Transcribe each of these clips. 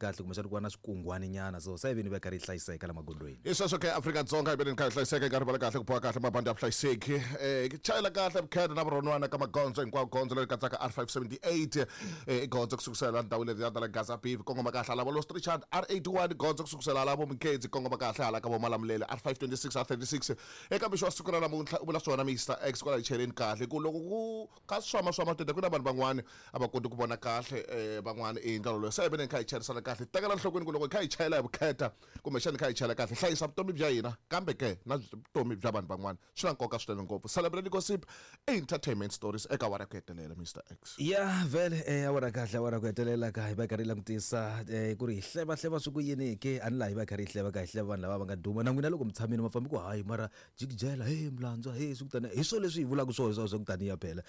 kahle kumbexana ku va na swikungwani nyana so se vini va karhi yi hlayiseka la magondzweni. Hi sweswo ke, Afrika-Dzonga yi veni kha yi hlayiseka yi karhi vala kahle ku boha kahle mabandi ya vuhlayiseki um chayela kahle vukheta na vurhonwana ka magondzo hinkwawo. Gondzo leri katsaka R578 i gondzo ku sukusela ndhawu leri ya la Gaza Beef kongoma kahle hala vo Lost Richard, R81 gondzo ku sukusela hala vo Mkhenzi kongoma kahle hala ka vo Malamulele, R526, R36. Eka mixo wa siku ra namuntlha u vula swona Mr X kwala hi cheleni kahle ku loko ku kha swama swa matende ku na vanhu van'wani a va koti ku vona kahle van'wani i ndlela loyi se hi veni hi kha hi chayerisana kahle tekela nhlokweni ku loko hi kha hi chayela hi vukheta kumbexana hi kha hi chayela kahle hlayisa vutomi bya hina kambe ke na vutomi bya vanhu van'wana swi na nkoka swinene ngopfu. Celebrity gossip, entertainment stories eka awara ya ku hetelela, Mr X. Ya vhele awara kahle awara ku hetelela ka hi va hi karhi hi langutisa ku ri hi hleva hleva swi ku yini ke a ni laha hi va hi karhi hi hleva ka hi hleva vanhu lava va nga duma na n'wina loko mi tshamile ma fambi ku hayi mara jikijela he mlandzwa he swi ku tani hi swo leswi hi vulaka swona swa ku taniya phela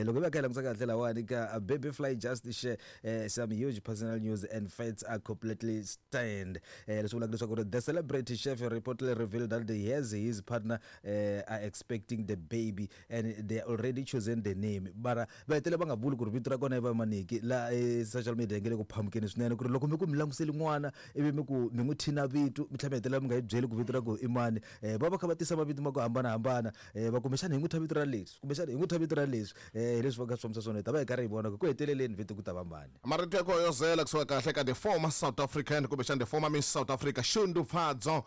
loko hi va kha hi langutisa kahle lawani ka Baby Fly just share some huge personal news and facts are completely stunned. Leswi vulaka leswaku ri the celebrity chef reportedly revealed that he has his partner are expecting the baby and they already chosen the name. Mara va hetelela va nga vuli ku ri vito ra kona i va maniki la social media yi nge le ku phamukeni swinene ku ri loko mi ku mi languseli n'wana ivi mi ku mi n'wi thina vito mi tlhela mi hetelela mi nga yi byeli ku vito ra ku i mani. Va va kha va tisa mavito ma ku hambanahambana va kumbexana hi n'wi thya vito ra leswi kumbexana hi n'wi thya vito ra leswi hi leswi va kha swi fambisa swona hi ta va hi karhi hi vona ku ku heteleleni vito ku ta va mani. Marito ya ku hoyozela kusuka kahle ka the former South African kumbexana the former Miss South Africa Shundupfadzo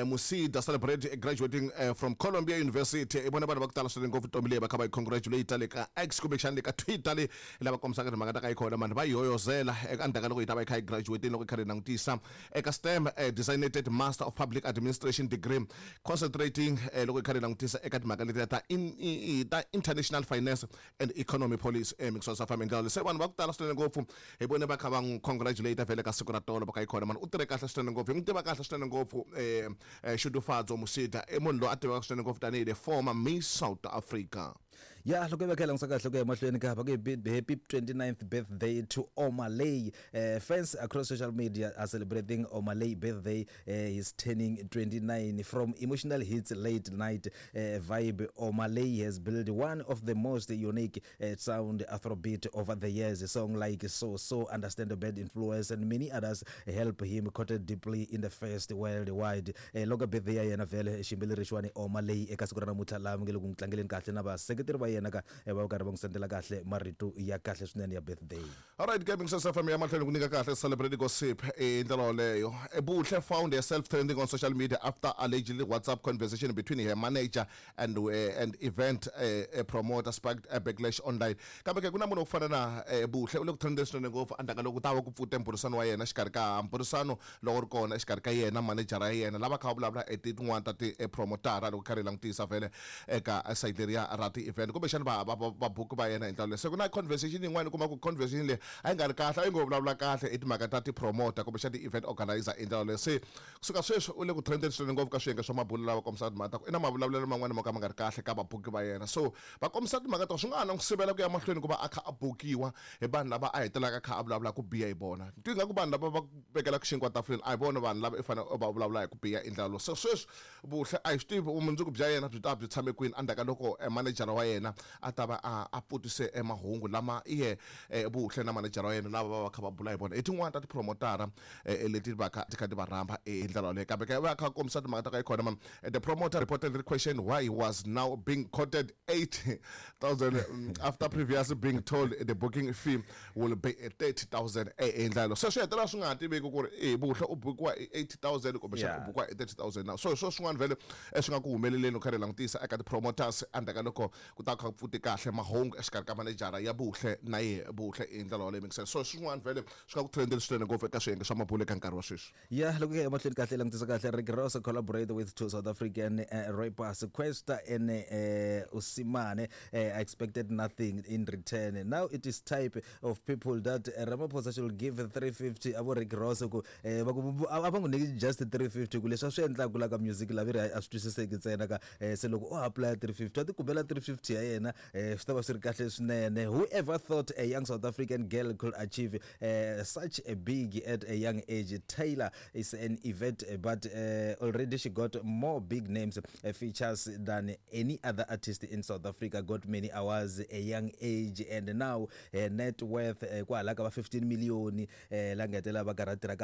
Musida celebrate graduating from Columbia University. I vona vanhu va ku tala swinene ngopfu ntombi leyi va kha va yi congratulate le ka X kumbexana le ka Twitter le lava kombisaka timhaka ta ka yi kona mani va yi hoyozela eka ndzhaku ka loko yi ta va yi kha yi graduate loko yi kha yi langutisa eka STEM designated Master of Public Administration degree concentrating loko yi kha yi langutisa eka timhaka letiya ta ta international finance and economy policy eMixon Farm ndlela se vanhu va ku tala swinene ngopfu hi vone va kha va n'wi congratulate vhele ka siku ra tolo va ka yi khona mani u tirhe kahle swinene ngopfu hi n'wi tiva kahle swinene ngopfu Shudufhadzo Musida i munhu loyi a tiveka swinene ngopfu tanihi the former Miss South Africa. Ya loko hi va kha hi langutisa kahle ku ya emahlweni ka va ku happy 29th birthday to Omah Lay. Fans across social media are celebrating Omah Lay birthday. He's turning 29. From emotional hits, late night vibe, Omah Lay has built one of the most unique sound Afrobeat over the years. A song like So So, Understand the Bad Influence and many others help him caught deeply in the first worldwide. Loko birthday ya yena vhele xiyimbeleri lexiwani Omah Lay eka siku ra namuntlha laha mi nge le ku n'wi tlangeleni kahle na vaseketeri va yena ka va karhi va n'wi sendela kahle marito ya kahle swinene ya birthday. Alright ke Mixes FM ya mahlweni ku nyika kahle celebrity gossip i ndlela yoleyo. Buhle found herself trending on social media after allegedly WhatsApp conversation between her manager and and event promoter sparked a backlash online. Kambe ke ku na munhu wa ku fana na Buhle u le ku trendeni swinene ngopfu endzhaku ka loko ku ta va ku pfute mbhurisano wa yena exikarhi ka mbhurisano lowu ri kona exikarhi ka yena manejara ya yena lava kha va vulavula hi tin'wana ta ti-promotara loko kha ri langutisa vhele eka site leriya ra ti-event kumbexana va va vabuki va yena hi ndlela leyo. Se ku na conversation yin'wana u kuma ku conversation leyi a yi nga ri kahle a yi ngo vulavula kahle hi timhaka ta ti-promoter kumbexana ti-event organizer hi ndlela leyo. Se kusuka sweswi u le ku trendeni swinene ngopfu ka swiyenge swa mabulo lava kombisaka timhaka ta ku i na mavulavulelo man'wana mo ka ma nga ri kahle ka vabuki va yena. So va kombisa timhaka ta ku swi nga ha na n'wi sivela ku ya mahlweni ku va a kha a bukiwa hi vanhu lava a hetelelaka a kha a vulavula ku biha hi vona. Ni twa ingaku vanhu lava va ku vekelaka xinkwa tafuleni a hi vona vanhu lava i fanele u va vulavula hi ku biha hi ndlela lowu. Se sweswi Buhle a hi swi tivi vumundzuku bya yena byi ta va byi tshame kwini endzhaku ka loko manejara wa yena a ta va a pfutise mahungu lama ye Buhle na manejara wa yena lava va va kha va bula hi vona hi tin'wana ta tipromotara leti va kha ti kha ti va rhamba hi ndlela yoleyo. Kambe ke va kha va kombisa timhaka ta ka yi khona the promoter reportedly questioned why he was now being quoted 80,000 after previously being told the booking fee will be 30,000 hi ndlela yoleyo. Se swi hetelela swi nga ha tiveki ku ri e Buhle u bukiwa hi 80,000 kumbexana u bukiwa hi 30,000 na. So hi swo swin'wana vhele swi nga ku humeleleni u karhi langutisa eka ti-promoters endzhaku ka loko ku ta kha ku pfute kahle mahungu exikarhi ka manejara ya Buhle na ye Buhle hi ndlela yoleyo mingisela. So swin'wana vhele swi nga ku trendeni swinene ngopfu eka swiyenge swa mabulo eka nkarhi wa sweswi. Ya loko hi ya emahlweni kahle langutisa kahle Rick Ross collaborate with two South African rappers Kwesta and Usimane. I expected nothing in return. Now it is type of people that Ramaphosa should give 350 avo Rick Ross ku va ku a va n'wi nyiki just 350 ku leswi a swi endlaka la ka music la veri a swi twisiseki ntsena ka se loko o apply 350 a ti kumela 350 ya yena swi ta va swi ri kahle swinene. Whoever thought a young South African girl could achieve such a big at a young age? Taylor is an event, but already she got more big names features than any other artist in South Africa. Got many awards a young age, and now her net worth kwala ka va 15 million la nga hetelela va karhi a tirha.